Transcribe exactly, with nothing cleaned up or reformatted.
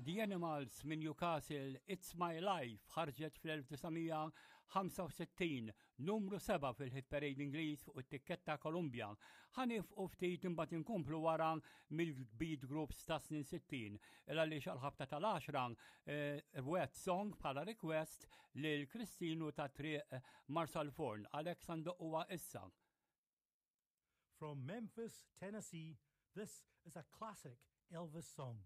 The Animals minn Newcastle, It's My Life, ħarġet fl-elf disa' mija ħamsa u sittin, numru seba' fil-hit parade Ingliż fuq it-tikketta Columbia. Ħa nifqu ftit imbagħad inkomplu wara mill-beat groups ta' snin sittin. Il għaliex għal-ħabta tal-għaxra, eh, wet song bħala request lil Kristinu ta' Triq Marsalforn. Għalhekk sandoqquha issa. From Memphis, Tennessee, this is a classic Elvis song.